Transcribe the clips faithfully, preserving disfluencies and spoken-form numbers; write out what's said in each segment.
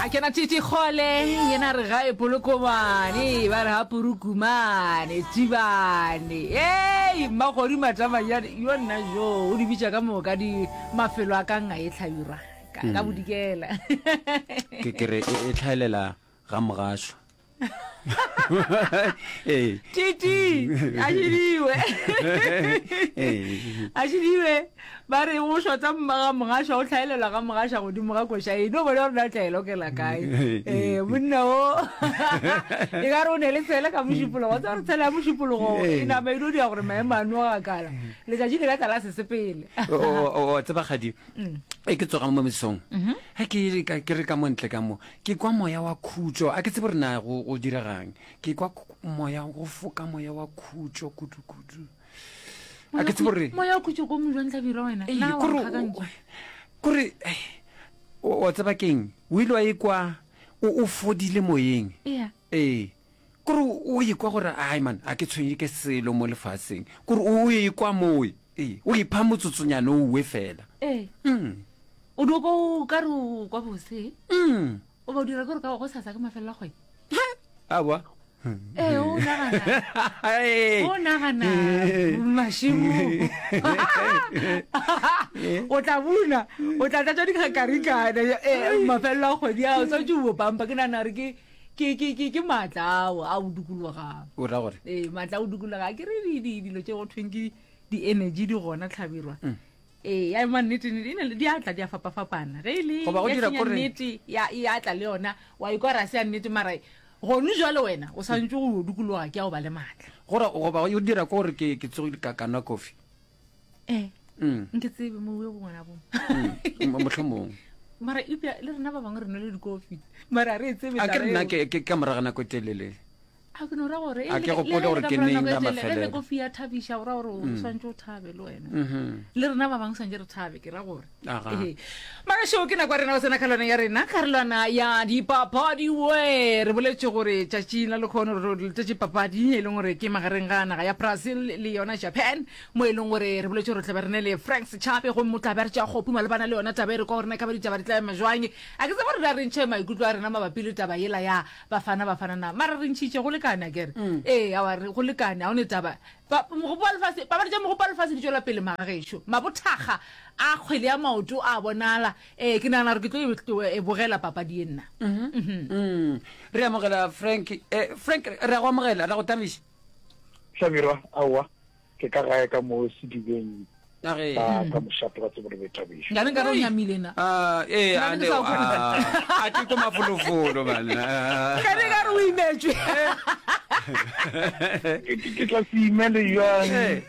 A kena Titi Kgole, yena re gae Polokomane, ba re ga Purukumane, Tibane. Ei, Mmakgodu Matamanyane, yo nna jo, o di bitša ka moka di mafelo a ka nga e hlabirwa, ka, ka bodikela. Ke ke re e e tlhaelela ga mogašo. Ee. Titi, a šidiwe. Ee. A šidiwe. Ba re go šota mma ga mogaša, o tlhaelelwa ga mogaša godimo ga koša e. No bone gore na tla e lokela kae. Eh, monna o. E ka re o ne le tshele ka mošupologo. O tseba gore tshele ya mošupologo e nama e no dira gore maemo a noga kala. Letšatši le ka tla la se sepele. O o o tseba kgadi. E ke tsoga mo mesong. Ge ke ka ke re ka mo ntle ka mo, ke kwa moya wa khutšo. A ke tsebe gore na go go diregang. Ke kwa moya go foka moya wa khutšo kudu kudu. A ke tsebe gore Moya wa khutšo ko mojwang hlabirwa wena. Ee, Na wa kore o- nkgakantšha. kore eh, o o tseba keng? O ile wa ikwa o o fodile moyeng. Ea. Ee. Kore o ikwa gore ai man, a ke tshwenye ke selo mo lefaseng. Kore o ikwa moe. Ee, o ipha motsotsonyana o uwe fela. Ee. Mm. O do ko ka re o kwa bose. Mm. O ba o dira gore ka go sasa ke mafelelo a kgwedi. Aowa. Ee, o nagana. Ee. O nagana mašemo. O tla buna, o tla tlatša dikgakarikana, eh, mafelelo a kgwedi ao santse o pampa. Ke nagana gore ke ke ke ke ke maatla ao a o dikologang. O ra gore? Ee, maatla a o dikologang. Ke re di di dilo tše go thweng ke di-energy di gona tlhabirwa. Ee, ya ema nnete, nnete, e na le- di a tla di a fapafapana. Ge e le Goba go ya dira senya kore- nnete, ya e a tla le yona, wa ikwa ra se ya nnete, mara gone jwale wena o santse go dikologa ke ya go ba le maatla. Gore goba o dira ko gore ke ke tsogile ka ka nwa kofi. Eh, Mm. nke tsebe mo o ngwana bo. Mm, mohlomong. Mara eupša le rena ba bangwe re nwele dikofi. Mara re e tsebe A ke taba re nna eo. ke ke ka morago ga nako e telele. A ke no ra gore, A e ke le- gopole le ge gore le ka ke morago neng nako e la telele, ge le mafelelo. kofi ya thabiša, o ra gore o swantse o thabe le wena. Mhm. Le rena ba bangwe swantse re thabe, ke ra gore. Aga. Ee. Mara šeo ke nako ya rena go tsena karolwana ya rena, karolwana ya dipapadi we. Re boletše gore tšatši la lekgono re letetše papadi e leng gore ke magareng ga naga ya Brazil le yona Japan, mo e leng gore re boletše gore tla be re ne le Frank Sechabe, gomme o tla be a re tšea kgopu malebana le yona taba e re kwa gore na e ka ba ditaba di tla ema jwang. A ke tsebe gore na re ntšhe maikutlo a rena mabapi le taba yela ya Bafana Bafana na, mara re ntšhitše go lekane akere. Ee, aowa, re go lekane, ga o ne taba. Ba, mogopo wa lefase, papadi tša mogopo wa lefase di tšwela pele magagešo. Mabothakga a kgwele ya maoto a bonala. Ee, ke nagana gore ke tlo e, e bogela papadi ye nna. Mm. Re amogela Frank. Eh, Frank, re a go amogela, re a go tamiša. Hlabirwa, aowa, ke ka gae ka mo sedibeng A ge. sa ka mošate wa tsebo le boithabišo. Nkane nkare o nyamile na. Ah, ee, Nna a ke ne sa o kgona. a ke ko mafolofolo bana. Nkane nkare o imetšwe. Ke ke- ke tla se imele jwang Eh.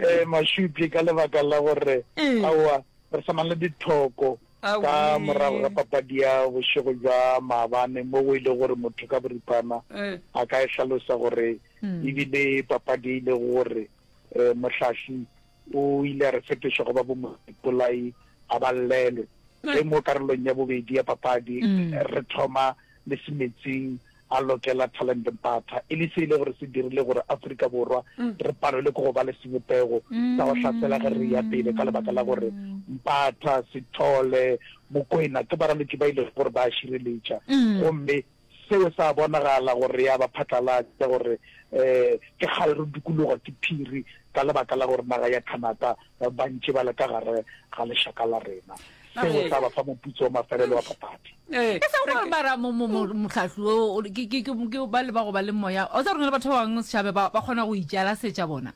eh Mašupje ka lebaka la gore Eh. aowa re sa na le dithoko ka Aowi. morago ga papadi ya bošego bja maabane mo go ile gore motho ka boripana Eh. a ka e hlalosa gore ebile papadi e ile gore eh, mohlahli o ile a re fetoša go ba bo moipolai a ba llelwe. Ge mo karolong ya bobedi ya papadi re thoma le Semetsing a lokela Talent Mpatha, e le se ile gore se dirile gore Afrika Borwa re palelwe ke go ba le sebopego sa go hlasela ge re ya pele ka lebaka la gore Mpatha, Sithole, Mokwena ke baraloki ba ile gore ba a šireletša, gomme seo sa bonagala gore ya ba phatlalatša gore eh ke kgale re dikologa ke phiri ka lebaka la gore naga ya Canada ba ntše ba le ka gare ga lešaka la rena. Seo sa ba fa moputso wa mafelelo wa papadi. Eh, E seng gore mara mo- mo- mo- mohlahli o, o- ke ke- ke- ke ba le ba go ba le moya. O tseba gore na le batho ba bangwe setšhabe ba ba kgona go itšala setša bona.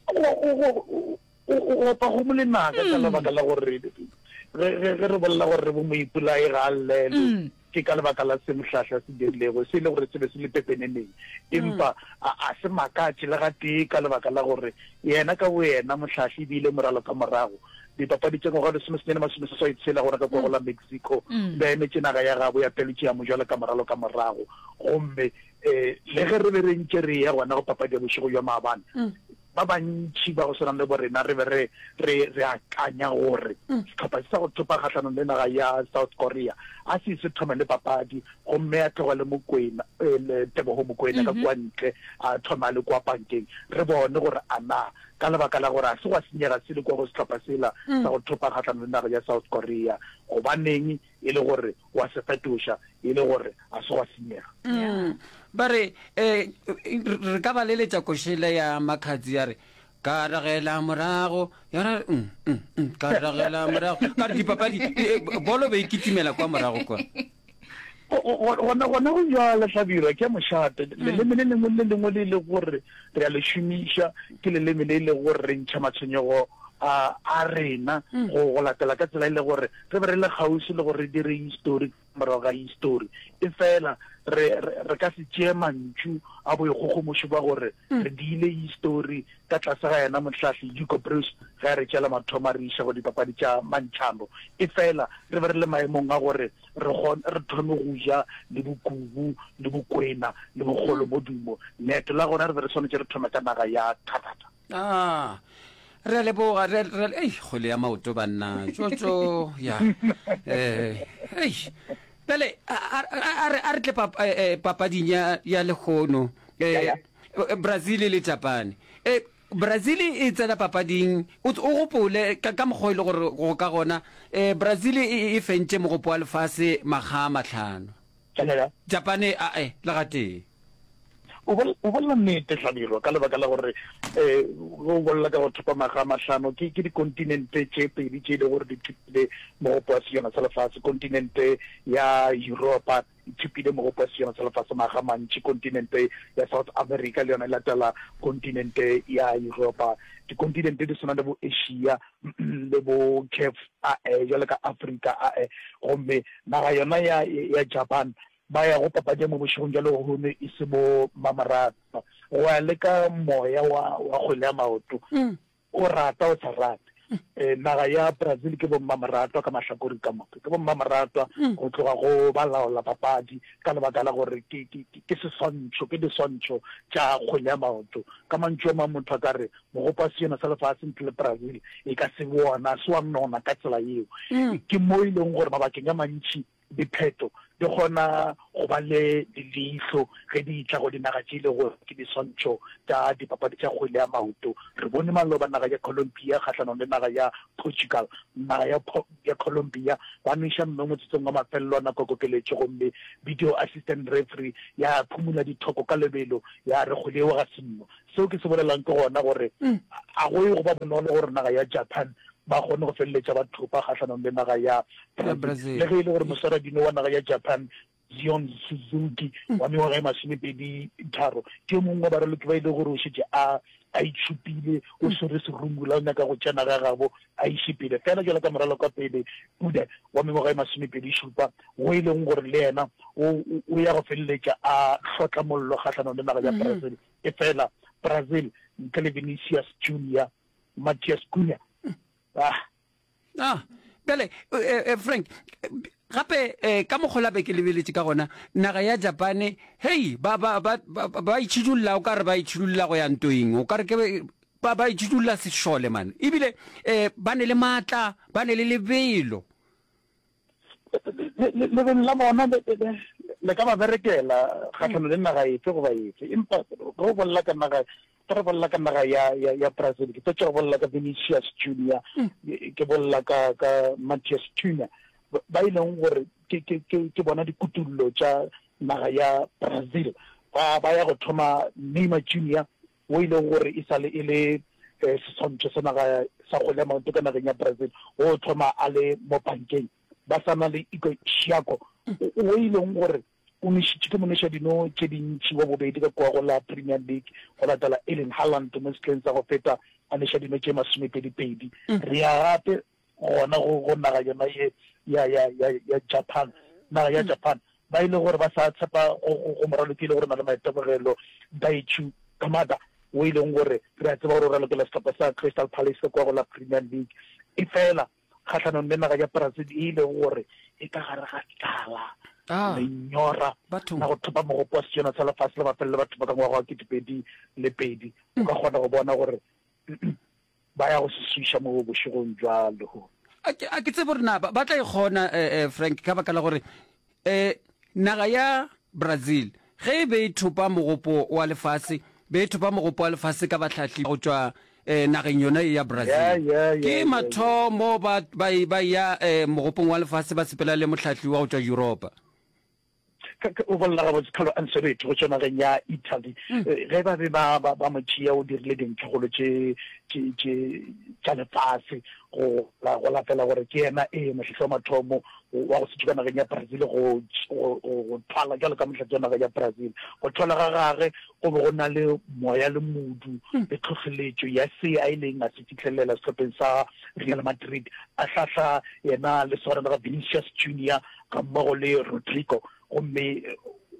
Go go go o opa go molenaka ka lebaka la gore ge ge ge re bolela gore bo moipolai ga a llelwe, ke ka lebaka la se mohlahli a se dirilego, se e le gore se be se le pepeneneng. Empa a a se makatše le gatee ka lebaka la gore yena ka boyena mohlahli e bile moralo ka morago dipapadi tša ngwaga lesomesenyane masomeseswai tshela gona ka kua go la Mexico, o be a emetše naga ya gabo ya Belgium jwalo ka moralo ka morago. Gomme um le ge re be re ntše re eya gona go papadi ya bošego bja maabane, ba bantši ba go swana le bo rena re be re re re akanya gore sehlopha se sa go thopa kgahlanong le naga ya South Korea a se se thome le papadi, gomme a tlogele Mokwena, eh, Teboho Mokwena ka kua ntle, a thome a le kua pankeng, re bone gore a na Ka lebaka la gore ga se gwa senyega selo kua go sehlopha sela sa go thopa kgahlanong le naga ya South Korea. Gobaneng e le gore wa se fetoša e le gore ga se gwa senyega? Mm. Ba re, eh, re ka ba leletša košele ya Makhadzi ya re, Ka ragela morago, ya re, mm, mm, mm, ka ragela morago. Ka re dipapadi, eh, bolo be e kitimela kwa morago kwa. Gona gona go bjalo Hlabirwa, ke a mošate. Leleme le lengwe le le lengwe le e lego gore re a le šomiša ke leleme le e lego gore re ntšha matshwenyego a a rena go go latela ka tsela e le gore re be re le kgauswi le gore re dire histori ka morago ga histori. Efela re re re ka se tšee mantšu a boikgogomošo bja gore re diile histori ka tlase ga yena mohlahli Hugo Broos ge a re tšeela mathomo a re iša go dipapadi tša mantšhano. Efela re be re le maemong a gore re kgon, re thome go ja le bokubu, le bokwena, le bokgolomodumo. Leeto la gona re be re swanetše re thome ka naga ya Canada. Ah, re a leboga, re, re, ei, kgwele ya maoto banna, tšotšo, ya, eh, ei. Bjale, a, a, a, a re, a re tle pap, eh, eh, papading ya, ya lehono, eh, Brazil le Japane. Eh, Brazil e tsena papading, o, o gopole ka, ka mokgwa o e le gore go ka gona, eh, Brazil e, e fentše Mogopo wa Lefase makga a mahlano. Canada. Japane, ae, le gatee. O bol, o bolela nnete, Hlabirwa, ka lebaka la gore, eh, ge o bolela ka go thopa makga a mahlano, ke, ke dikontinente tše pedi tše e lego gore di thopile Mogopo wa Sejana sa Lefase, kontinente ya Yuropa e thopile Mogopo wa Sejana sa Lefase makga a mantši, kontinente ya South America le yona e latela kontinente ya Yuropa. Dikontinente di swana le bo Asia le bo Caf ae, bjalo ka Afrika ae. Gomme naga yona ya, ya Japan ba ya go papadi ya mo bošegong bja lehono e se bo mmamoratwa. Go ya le ka moya wa, wa kgwele ya maoto, o rata o sa rate. Naga ya Brazil ke bommamoratwa ka mahlakoreng ka moka. Ke bommamoratwa go tloga go balaola papadi ka lebaka la gore ke, ke, ke seswantšho, ke diswantšho tša kgwele ya maoto. Ka mantšu a mang motho a ka re mogopo wa sejana sa lefase ntle le Brazil e ka se be wona, se wa nona ka tsela yeo. Ke mo e leng gore mabakeng a mantši Dipheto di kgona go ba le leihlo ge di etla go dinaga tše e lego gore ke diswantšho tša dipapadi tša kgwele ya maoto. Re bone maloba naga ya Colombia kgahlanong le naga ya Portugal. Naga ya ya Colombia ba nweša mme motsotsong wa mafelelo a nako ya kokeletšo gomme video assistant referee ya phumula dithoko ka lebelo ya re kgwele yeo ga se nno. Seo ke se bolelang ke gona gore a go ye go ba bonolo gore naga ya Japan ba kgone go feleletša ba thopa kgahlanong le naga ya Brazil. Le ge e le gore moswaradino wa naga ya Japan, Zion Suzuki wa mengwaga e masomepedi tharo, ke yo mongwe wa baraloki ba e lego gore o šetše a a itšhupile, o swere serumula, o nyaka go tšea naga ya gabo a iše pele. Fela bjalo ka moralokapele Ude wa mengwaga e masomepedi šupa, wo e leng gore le yena o o ya go feleletša a hlotla mollo kgahlanong le naga ya Brazil. Efela Brazil ntle le Vinicius Junior, Matheus Cunha, ah. Ah, bjale eh, eh, Frank, gape eh, ka mokgwa la be ke lebeletše ka gona naga ya Japane, hei, ba ba ba ba, ba itšhidulla o ka re ba itšhidulla go ya ntoeng, o ka re ke ba ba itšhidulla sešole man, ebile eh, ba ne le maatla, ba ne le lebelo. Lebelo la bona le ka ba berekela kgahlano le naga efe goba efe, empa ge o bolela ka naga, ge re bolela ka naga ya, ya, ya Brazil, ke fetša go bolela ka Vinicius Junior, ke bolela ka, ka Matheus Cunha, ba e leng gore ke, ke, ke, ke bona dikutullo tša naga ya Brazil. Ba, ba ya go thoma Neymar Junior, wo e lego gore e sa le e le seswantšho sa naga sa kgwele ya maoto ka nageng ya Brazil, wo o thoma a le mo bankeng. Ba sa na le Igor Thiago, wo e leng gore o nwešitše ke monwešadino tše dintši wa bobedi ka kua go la Premier League go latela Erling Haaland mo sehleng sa go feta a nweša dino tše masomepedi-pedi. Re ya gape gona go, go naga yona ye ya, ya, ya, ya Japan, naga ya Japan, ba e le gore ba sa tshepa go, go, go moraloki e le gore o na le maitemogelo, Daichi Kamada, wo e leng gore re a tseba gore o ralokela sehlopha sa Crystal Palace ka kua go la Premier League. Efela kgahlanong le naga ya Brazil e e lego gore e ka gare ga tlala, lenyora la go thopa mogopo wa sejana sa lefase la mafelelo batho ba ka ngwaga wa ketepedi le pedi, o ka kgona go bona gore ba ya go se swiša mo bošegong bja lehono. A ke, a ke tsebe gore na ba, ba tla e kgona, eh, eh, Frank, ka baka la gore eh, naga ya Brazil ge e be e thopa mogopo wa lefase, be e thopa mogopo wa lefase ka bahlahli go tšwa eh, nageng yona ye ya Brazil. Yeah, yeah, yeah, Ke yeah, mathomo ba, ba, ba ya eh, mogopong wa lefase ba sepela le mohlahli wa go tšwa Yuropa. Ka, ka, o bolela gabotse Carlo Ancelotti go tšwa nageng ya Italy. Eh, Ge ba be ba, ba, ba mo tšea o dirile dintlhakgolo tše, tše, tše tša lefase go, la, go latela gore ke yena ee mohlahli wa mathomo wa go se tšwe ka nageng ya Brazil go, go, go, go thwala bjalo ka mohlahli wa naga ya Brazil. Go thwala ga gage go be go na le moya le modu le tlhohleletšo ya se a ileng a se fihlelela sehlopheng sa Real Madrid, a hlahla yena le swarana ga Vinicius Junior gammogo le Rodrygo, gomme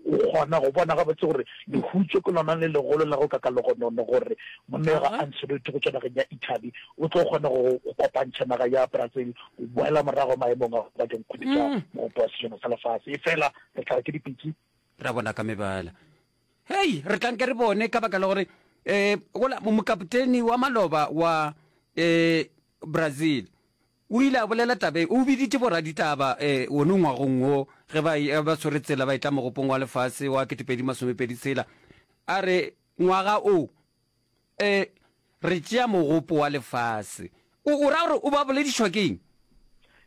o kgona go bona gabotse gore lehutšo ke lona le legolo la go kaka legonono gore monna yo ga Ancelotti go tšwa nageng ya Italy o tlo kgona go kopantšha naga ya Brazil go boela morago maemong a go ba dinkgwete tša mogopo wa sejana sa lefase. Efela re tla re ke dipitsi. Ra bona ka mebala. Hei, re tla nke re bone ka baka la gore um gola mokapoteni wa maloba wa um Brazil O ile a bolela taba ye, o biditše boraditaba wona ngwagong wo ge ba ba swere tsela ba etla Mogopong wa Lefase wa ketepedi masomepedi tshela, a re, Ngwaga o, e, re tšea Mogopo wa Lefase. O, o ra gore o ba boledišwa ke eng?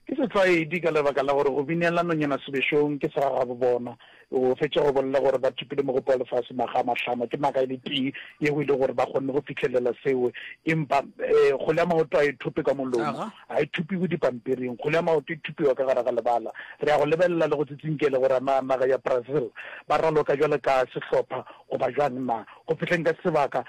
Ke setlwaedi ka lebaka la gore go binela nonyana sebešong ke segagabobona. O fetša go bolela gore ba thopile Mogopo wa Lefase makga a mahlano. Ke naga e le tee yeo e le gore ba kgonne go fihlelela seo. Empa kgole ya maoto a e thope ka molomo, ga e thopiwe dipampiring. Kgole ya maoto e thopiwa ka gare ga lebala. Re ya go lebelela le go tsitsinkele gore na naga ya Brazil ba raloka bjalo ka sehlopha goba bjang na. Go fihleng ka sebaka,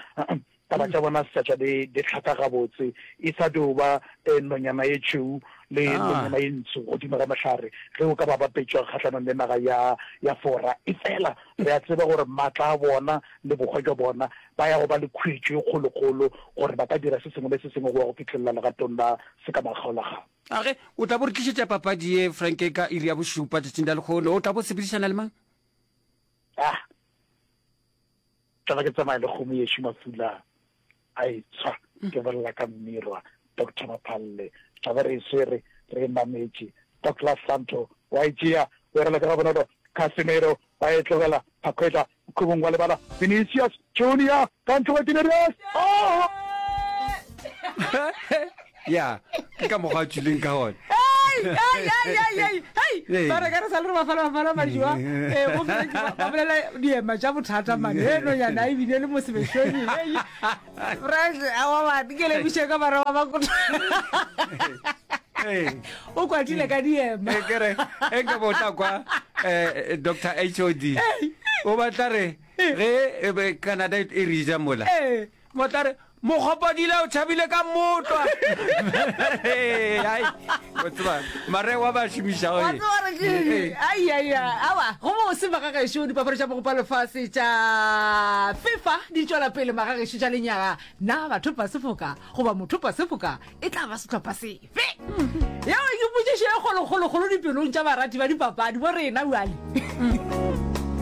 Taba tša bona se sa tšwa di, di hlaka gabotse. E sa dio ba eh, nonyana ye tšhweu le ah. nonyana ye ntsho godimo ga mohlare ge o ka ba bapetšwa kgahlanong le naga ya, ya Fora. Efela re a tseba gore maatla a bona le bohwa jwa bona ba ya go ba le khuetšo e kgolokgolo gore ba ka dira se sengwe le se sengwe go ya go fihlelela legatong la sekamakgaolakgang. A ge o tla bo re tlišetša papadi ye, Frank, ka iri ya bošupa tšatšing la lekgono, o tla bo sepedišana le mang? Ah, Tla ba ke tsamaya le kgomo yešo mafula a e tshwa, ke bolela ka mmirwa Doctor Maphalle. Tla be re e swere re e nametše. Douglas Santo wa e tšea, o e raloka gabonolo. Casemiro wa e tlogela, Paqueta mokhubung wa lebala. Vinicius Junior ka ntle go Tinerius. Oh! Ya, ke ka mokgwa a tšwileng ka gona. Ba re ka re sa le re bafala bafala majoa eh, go fele ba ba bolela diema tša bothata mane e nonyana e bile le mo sebešong Frank awa ba ke lebiše ka bara ba ba o kwatile ka diema e kere e nka bo tla kwa eh, Doctor H O D o batla re ge e be Canada e re ja mola Ee. Mo tla re, Mokgopadila o tšhabile ka mmotlwa. Ai, o tseba, mareo a ba a šomišago Wa e. tseba gore ke eng? Ee. Ai, ai, ai, aowa, go bose magagešo, dipapadi tša mogopo wa lefase tša FIFA di tšwela pele magagešo tša lenyaga. Na bathopa sefoka goba mothopa sefoka e tla ba sehlopha sefe? Yeo ke potšišo e kgolokgolokgolo dipelong tša barati ba dipapadi bo rena bjale.